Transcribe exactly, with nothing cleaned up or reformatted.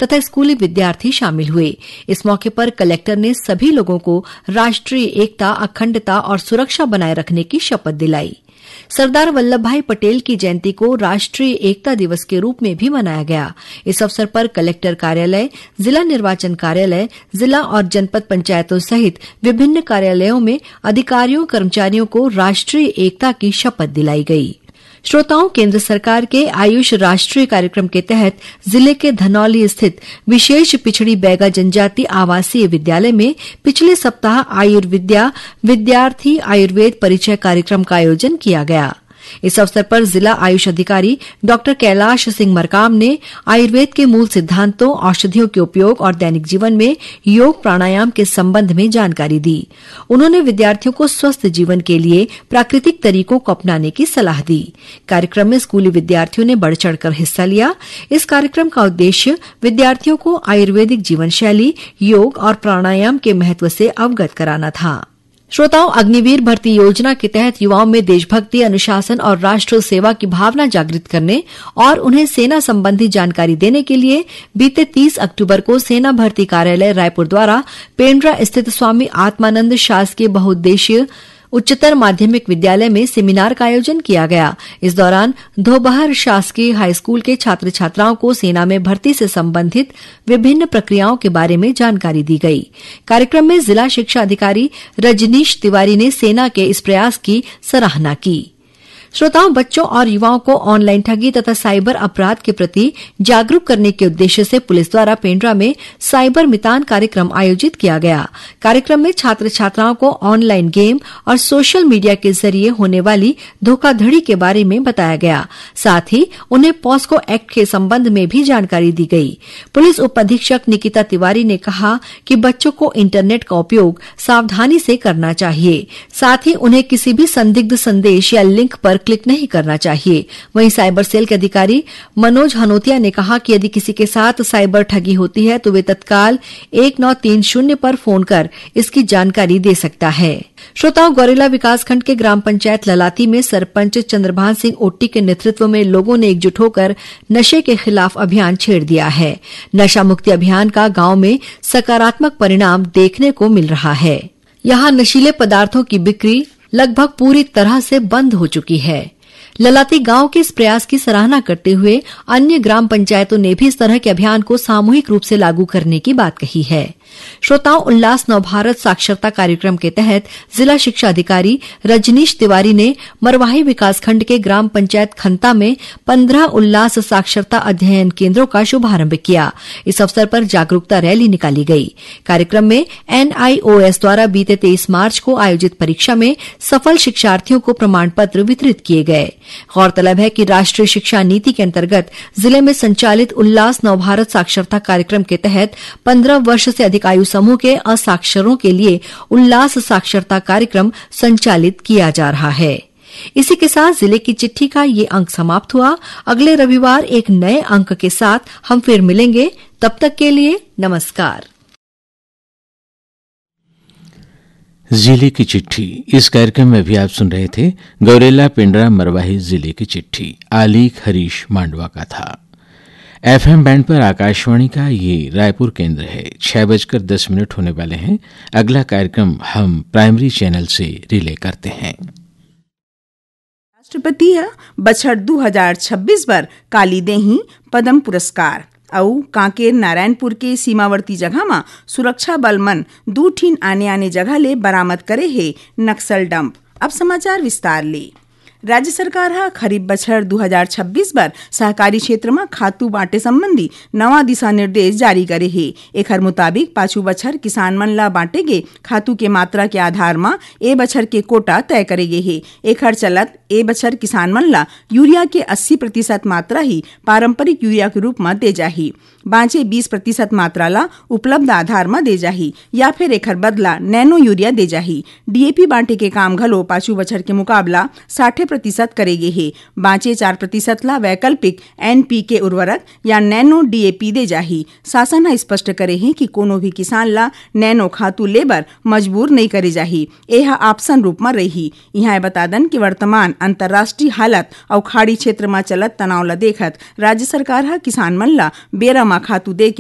तथा स्कूली विद्यार्थी शामिल हुए। इस मौके पर कलेक्टर ने सभी लोगों को राष्ट्रीय एकता, अखंडता और सुरक्षा बनाए रखने की शपथ दिलाई। सरदार वल्लभ भाई पटेल की जयंती को राष्ट्रीय एकता दिवस के रूप में भी मनाया गया। इस अवसर पर कलेक्टर कार्यालय, जिला निर्वाचन कार्यालय, जिला और जनपद पंचायतों सहित विभिन्न कार्यालयों में अधिकारियों, कर्मचारियों को राष्ट्रीय एकता की शपथ दिलाई गई। श्रोताओं, केंद्र सरकार के आयुष राष्ट्रीय कार्यक्रम के तहत जिले के धनौली स्थित विशेष पिछड़ी बैगा जनजाति आवासीय विद्यालय में पिछले सप्ताह आयुर्विद्या विद्यार्थी आयुर्वेद परिचय कार्यक्रम का आयोजन किया गया। इस अवसर पर जिला आयुष अधिकारी डॉक्टर कैलाश सिंह मरकाम ने आयुर्वेद के मूल सिद्धांतों, औषधियों के उपयोग और दैनिक जीवन में योग प्राणायाम के संबंध में जानकारी दी। उन्होंने विद्यार्थियों को स्वस्थ जीवन के लिए प्राकृतिक तरीकों को अपनाने की सलाह दी। कार्यक्रम में स्कूली विद्यार्थियों ने बढ़ चढ़कर हिस्सा लिया। इस कार्यक्रम का उद्देश्य विद्यार्थियों को आयुर्वेदिक जीवन शैली, योग और प्राणायाम के महत्व से अवगत कराना था। श्रोताओं, अग्निवीर भर्ती योजना के तहत युवाओं में देशभक्ति, अनुशासन और राष्ट्र सेवा की भावना जागृत करने और उन्हें सेना संबंधी जानकारी देने के लिए बीते तीस अक्टूबर को सेना भर्ती कार्यालय रायपुर द्वारा पेंड्रा स्थित स्वामी आत्मानंद शासकीय बहुउद्देशीय उच्चतर माध्यमिक विद्यालय में सेमिनार का आयोजन किया गया। इस दौरान धोबहर शासकीय हाई स्कूल के छात्र छात्राओं को सेना में भर्ती से संबंधित विभिन्न प्रक्रियाओं के बारे में जानकारी दी गई। कार्यक्रम में जिला शिक्षा अधिकारी रजनीश तिवारी ने सेना के इस प्रयास की सराहना की। श्रोताओं, बच्चों और युवाओं को ऑनलाइन ठगी तथा साइबर अपराध के प्रति जागरूक करने के उद्देश्य से पुलिस द्वारा पेंड्रा में साइबर मितान कार्यक्रम आयोजित किया गया। कार्यक्रम में छात्र छात्राओं को ऑनलाइन गेम और सोशल मीडिया के जरिए होने वाली धोखाधड़ी के बारे में बताया गया। साथ ही उन्हें पॉस्को एक्ट के संबंध में भी जानकारी दी गई। पुलिस उप अधीक्षक निकिता तिवारी ने कहा कि बच्चों को इंटरनेट का उपयोग सावधानी से करना चाहिए। साथ ही उन्हें किसी भी संदिग्ध संदेश या लिंक पर क्लिक नहीं करना चाहिए। वहीं साइबर सेल के अधिकारी मनोज हनोतिया ने कहा कि यदि किसी के साथ साइबर ठगी होती है तो वे तत्काल एक नौ तीन शून्य पर फोन कर इसकी जानकारी दे सकता है। श्रोताओं, गौरेला विकासखंड के ग्राम पंचायत ललाती में सरपंच चंद्रभान सिंह ओट्टी के नेतृत्व में लोगों ने एकजुट होकर नशे के खिलाफ अभियान छेड़ दिया है। नशा मुक्ति अभियान का गांव में सकारात्मक परिणाम देखने को मिल रहा है। यहाँ नशीले पदार्थों की बिक्री लगभग पूरी तरह से बंद हो चुकी है। ललाती गांव के इस प्रयास की सराहना करते हुए अन्य ग्राम पंचायतों ने भी इस तरह के अभियान को सामूहिक रूप से लागू करने की बात कही है। श्रोताओं, उल्लास नवभारत साक्षरता कार्यक्रम के तहत जिला शिक्षा अधिकारी रजनीश तिवारी ने मरवाही विकासखंड के ग्राम पंचायत खंता में पन्द्रह उल्लास साक्षरता अध्ययन केंद्रों का शुभारंभ किया। इस अवसर पर जागरूकता रैली निकाली गई। कार्यक्रम में एनआईओएस द्वारा बीते तेईस मार्च को आयोजित परीक्षा में सफल शिक्षार्थियों को प्रमाण पत्र वितरित किए गए। गौरतलब है कि राष्ट्रीय शिक्षा नीति के अंतर्गत जिले में संचालित उल्लास नवभारत साक्षरता कार्यक्रम के तहत पन्द्रह वर्ष से अधिक आयु समूह के असाक्षरों के लिए उल्लास साक्षरता कार्यक्रम संचालित किया जा रहा है। इसी के साथ जिले की चिट्ठी का ये अंक समाप्त हुआ। अगले रविवार एक नए अंक के साथ हम फिर मिलेंगे। तब तक के लिए नमस्कार। जिले की चिट्ठी, इस कार्यक्रम में भी आप सुन रहे थे गौरेला पेंड्रा मरवाही जिले की चिट्ठी। आलेख हरीश मांडवा का था। एफएम बैंड पर आकाशवाणी का ये रायपुर केंद्र है। छह बजकर दस मिनट होने वाले हैं। अगला कार्यक्रम हम प्राइमरी चैनल से रिले करते हैं। राष्ट्रपति ह बछर दू हजार छब्बीस बर काली देही पद्म पुरस्कार अउ कांकेर नारायणपुर के सीमावर्ती जगह म सुरक्षा बल मन दू ठिन आने-आने जगह ले बरामद करे हे नक्सल डंप। अब समाचार विस्तार ले। राज्य सरकार ह खरीफ बछर दू हजार छब्बीस बर सहकारी क्षेत्र म खातू बांटे संबंधी नवा दिशा निर्देश जारी करे हे। एखर मुताबिक पाछू बछर किसान मन ल बांटे गे खातू के मात्रा के आधार म ए बछर के कोटा तय करे गे हे। एखर चलत ए बछर किसान मन ल यूरिया के अस्सी प्रतिशत मात्रा ही पारंपरिक यूरिया के रूप म दे जाही। बांचे बीस प्रतिशत मात्रा ल उपलब्ध आधार म दे जाही या फिर एखर बदला नैनो यूरिया दे जाही। डीएपी बांटे के काम घलो पाछू बछर के मुकाबला साठे प्रतिशत करे गे हे। बांचे चार प्रतिशत ल वैकल्पिक एनपीके उर्वरक या नैनो डीएपी दे जाही। शासन ह स्पष्ट करे हे कि कोनो भी किसान ल नैनो खातू ले बर मजबूर नइ करे जाही। ए ह ऑप्शन रूप म रइही। इहां ए बता दन कि वर्तमान अंतर्राष्ट्रीय हालत अउ खाड़ी क्षेत्र म चलत तनाव ल देखत राज्य सरकार ह किसान मन ल बेरा म खातू दे के